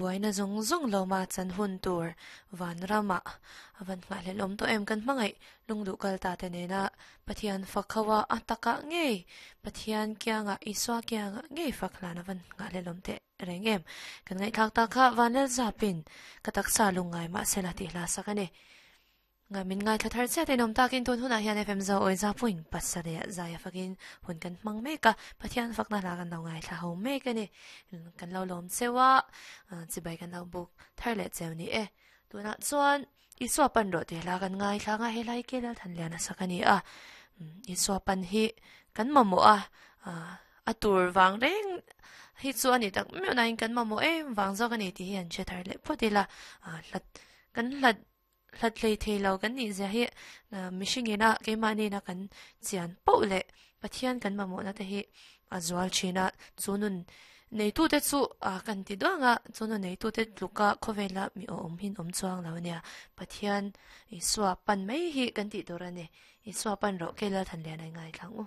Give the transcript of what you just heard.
Buaina zawng zawng lo ma chan hun tur vanrama avan nghahhlelh awm tawh em kan hmangaih lungduh kal ta te nena Pathian fak ho a a takah ngei Pathian kiangah Isua kiangah ngei fak hlan avan nghahhlelh awm teh reng em kan ngaihthlak tak kha Vanlal zapin ka taksa lungngai mahsela tih hla sak a ni. Nga min ngaithla thar chiat in awm takin tun hunah hian FM Zo Awi Zapuin pasarih ah zai a fakin hun kan hmang mek a, Pathian fakna hla kan lo ngaithla ho mek a ni. Kan lo lawm cheu a, chibai kan lo buk thar leh cheu ni e. Tunah chuan Isua pan rawh tih hla kan ngaithla anga he hla hi K Lalthanliana sak a ni a. Isua pan hi kan mamawh a, a tur vang reng hi chu a ni tak meuh nain kan mamawh em vang zawk a ni tih hi an hre thar leh phawt ila. Hlat kan hlat Hlat hlei thei lo kan nih zia hi mihring ina keimahni ina kan chian poh leh Pathian kan mamawhna te hi a zual thin a, chu nun neitute chu kan ti duang a, chu nun neitute tluka khawvela mi awm hin awm chuang lo a nia. Pathian Isua pan mai hi kan tih tur a ni. Isua pan rawh Kei Lalthanlian a ingaithla ang u.